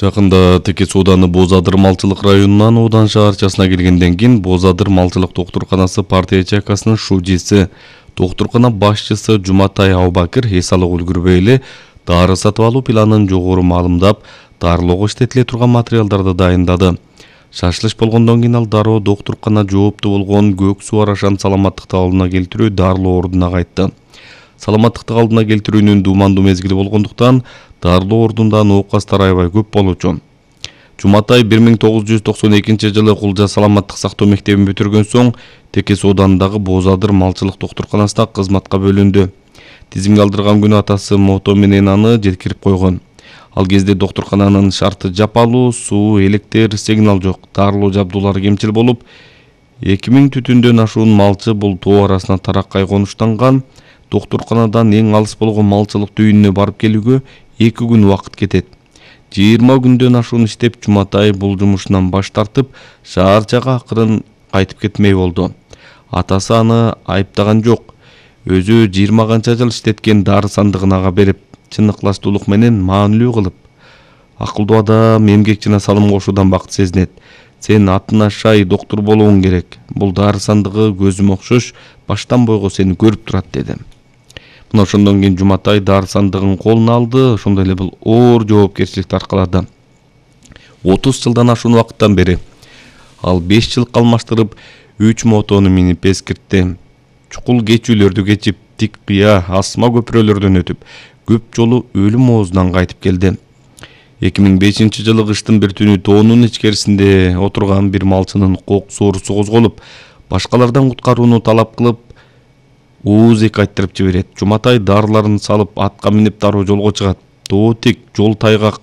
Жакында Текес ауданы Боз Адыр малчылык районунан Одан шаарчасына келгенден кийин Боз Адыр малчылык доктурканасы партия ячейкасынын шужиси, доктуркана башчысы Жуматай Абубакир эс алып үлгүрбөй эле дары сатып алуу планын жогору маалымдап, дарылоого иштетиле турган материалдарды дайындады. Шашылыш болгондон кийин ал дароо доктуркана жоопту болгон Көк Суу Арашан саламаттыкты алдына келтирүү дарылоо ордуна кайтты. Саламаттыкты алдына келтирүүнүн дуумандуу мезгили болгондуктан дарылоо ордунда оокастар аябай көп болчу. Жуматай 1992 Кулжа саламаттык сактоо мектебин бүтүргөн соң Текес ауданындагы Боз Адыр малчылык доктурканасына кызматка бөлүндү. Тизимге алдырган күнү атасы мото менен аны жеткирип койгон. Ал кезде доктуркананын шарты жапалуу, суу, электр, сигнал жок, дарылоо жабдуулары кемчил болуп, 2000 түтүндөн ашуун малчы бул тоо арасына тараккай конуштанган. Доктурканадан эң алыс болгон малчылык түйүнүнө барып келүүгө 2 күн убакыт кетет. 20 күндөн ашуун иштеп Жуматай бул жумушунан баш тартып, шаарчага акырын кайтып кетмей болду. Атасы аны айыптаган жок. Өзү 20 канча жыл иштеткен дары сандыгын ага берип, чын ыкластуулук менен маанилүү кылып: "Акылдуу адам эмгек жана салым кошуудан бакыт сезинет. Сен атын ашай доктур болуң керек. Бул дары сандыгы көзүм окшош, баштан бойго сени көрүп турат" деди. Мына ошондон кийин Жуматай дары сандыгын колуна алды, ошондой эле бул оор жоопкерчиликти аркалады. 30 жылдан ашуун убакыттан бери ал 5 жылкы алмаштырып 3 мотону минип эскиртти. Чукул кечүүлөрдү кечип, тик кыя, асма көпүрөлөрдөн өтүп, көп жолу өлүм оозунан кайтып келди. 2005 жылы кыштын бир түнү тоонун ичкерисинде отурган бир малчынын кок соорусу козголуп, башкалардан куткарууну талап кылып, ууз-эк айттырып жиберет. Жуматай дарыларын салып атка минип дароо жолго чыгат. Тоо тик, жол тайгак.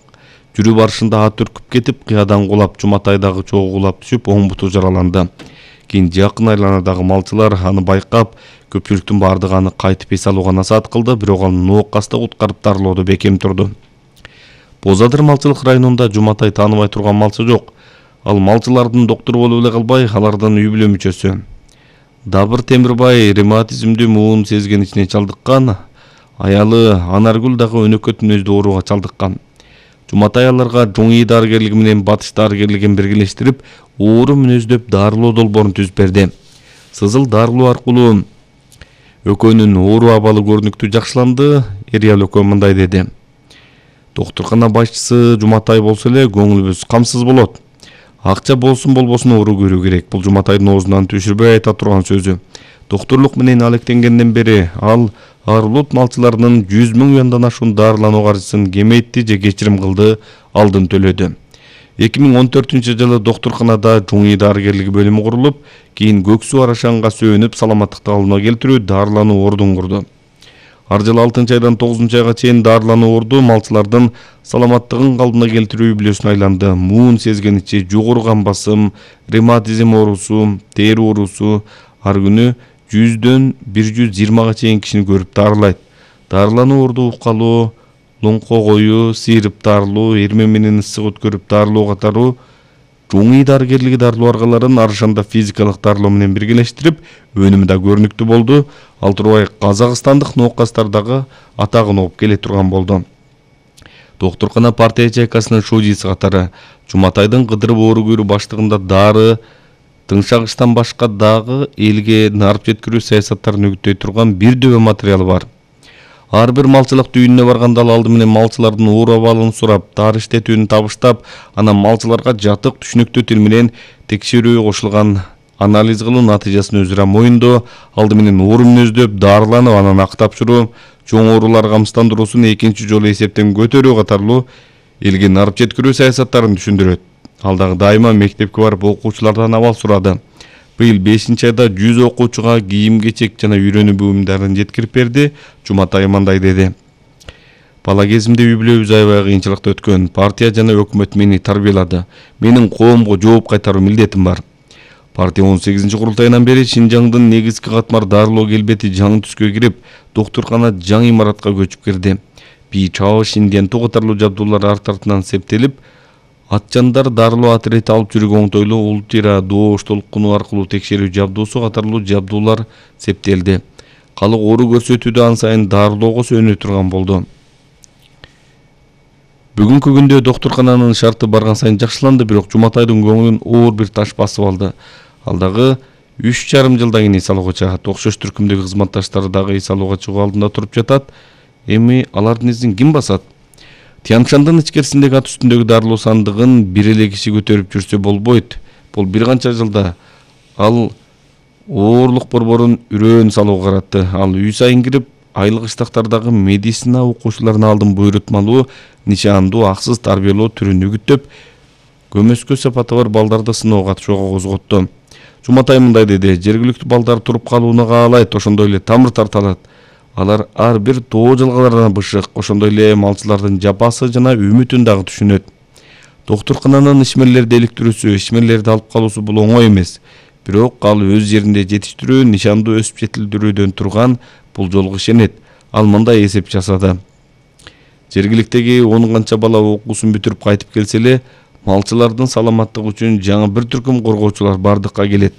Жүрүп барышында ат үркүп кетип, кыядан кулап, Жуматайдагы чогуу кулап түшүп, оң буту жараланды. Кийин жакын айланадагы малчылар аны байкап, көпчүлүктүн бардыгы аны кайтып эс алууга насаат кылды, бирок ал ноокасты куткарып дарылоодо бекем турду. Боз Адыр малчылык районунда Жуматай тааныбай турган малчы жок. Ал малчылардын доктуру болуп эле калбай, алардын үй бүлө мүчөсү. Дабыр Темирбай ревматизмдүү муун сезгеничине чалдыккан, аялы Анаргүл дагы өнөкөт мүнөздүү ооруга чалдыккан. Жуматай аларга Жоңий дарыгерлиги менен Батыш дарыгерлигин биргелештирип, оору мүнөздөп дарылоо долбоорун түзүп берди. Сызыл дарылоо аркылуу экөөнүн оору абалы көрүнүктүү жакшыланды. Эриал экөө мындай деди: "Доктуркана башчысы Жуматай болсо эле көңүлүбүз камсыз болот. Акча болсун болбосун оору көрүү керек. Бул Жуматайдын оозунан түшүрбөй айта турган сөзү. Доктурлук менен алектенгенден бери ал Арлут малчыларынын 100 000 юандан ашуун дарылануу каржысын кеметти же кечирим кылды, алдын төлөдү." 2014 жылы доктурканада Жоңий дарыгерлиги бөлүмү курулуп, кийин Көк Суу Арашанга сөөнүп саламаттыкты алдына келтирүү дарылануу ордун курду. Ар жылы 6 айдан 9 айга чейин дарылануу орду малчылардын саламаттыгын калдына келтирүү үй-бүлөсүнө айланды. Муун сезгеничи, жогору кан басым, ревматизм оорусу, тери оорусу ар күнү 100дөн 120га чейин кишини көрүп дарылайт. Дарылануу орду укалоо, лоңко коюу, сыйрып дарылоо, эрме менен ысык өткөрүп дарылоо катары Жоңий дарыгерлиги дарылоо аргаларын Арашанда физикалык дарылоо менен биргелештирип, өнүмү да көрүнүктүү болду. Ал турбай казакстандык ноокастар дагы атагын угуп келе турган болду. Доктуркана партия ячейкасынын шужиси катары Жуматайдын кыдырып оору көрүү баштыгында дары, тыңшагычтан башка дагы элге нарып жеткирүү саясаттарын үгүттөй турган бир дөбө материалы бар. Ар бир малчылык түйүнүнө барганда ал алды менен малчылардын оору абалын сурап, дары иштетүүнү табыштап, анан малчыларга жатык түшүнүктүү тил менен текшерүүгө кошулган анализ кылуу натыйжасын өзү моюндоо, алды менен оору мүнөздөп, дарыланып, анан ак тапшыруу, чоң оорулар камсыздандыруусун экинчи жолу эсептен көтөрүү катарлуу элге нарып жеткирүү саясаттарын түшүндүрөт. Ал дагы дайыма мектепке барып окуучулардан абал сурады. Быйыл 5 айда 100 окуучуга кийим-кечек жана үйрөнүү буюмдарын жеткирип берди. Жуматай мындай деди: "Бала кезимде үй бүлөбүз аябай кыйынчылыкта өткөн. Партия жана өкмөт мени тарбиялады. Менин коомго жооп кайтаруу милдетим бар. Партия 18 курултайынан бери Шинжаңдын негизги катмар дарылоо келбети жаңы түскө кирип, доктуркана жаңы имаратка көчүп кирди. Бий-чао, Шинденту катарлуу жабдуулар арт артынан септелип, атчандар дарылоо отряды алып жүрүүгө оңтойлуу ультра доош толкуну аркылуу текшерүү жабдуусу катарлуу жабдуулар септелди. Калык оору көрсөтүүдө ан сайын дарылоого сөнө турган болду. Бүгүнкү күндө доктуркананын шарты барган сайын жакшыланды, бирок Жуматайдын көңүлүн оор бир таш басып алды. Ал дагы 3,5 жылдан кийин эс алууга чыгат. Окшош түркүмдөгү кызматташтары дагы эс алууга чыгуу алдында туруп жатат. Эми алардын изин ким басат? Тянь-Шандын ичкерисиндеги ат үстүндөгү дарылоо сандыгын бир эле киши көтөрүп жүрсө болбойт. Бул бир канча жылда ал оорлук борборун үрөөн салууга каратты. Ал үй сайын кирип, айлык иштактардагы медицина окуучуларына алдын буйрутмалуу, нишандуу, аксыз тарбиялоо түрүн үгүттөп, көмөскө сапаты бар балдарды сыноого катышууга козготту. Жуматай мындай деди: жергиликтүү балдар туруп калууну каалайт, ошондой эле тамыр тарталат. Алар ар бир тоо жалгалардан бышык, ошондой эле малчылардын жапасы жана үмүтүн дагы түшүнөт. Доктуркананын ишмерлерди иликтирүүсү, ишмерлерди алып калуусу бул оңой эмес. Бирок ал өз жеринде жетиштирүү, нишандуу өсүп жетилдирүүдөн турган бул жолго ишенет. Ал мындай эсеп жасады: жергиликтеги 10 канча бала окуусун бүтүрүп кайтып келсе эле, малчылардын саламаттыгы үчүн жаңы бир түркүм коргоочулар бардыкка келет.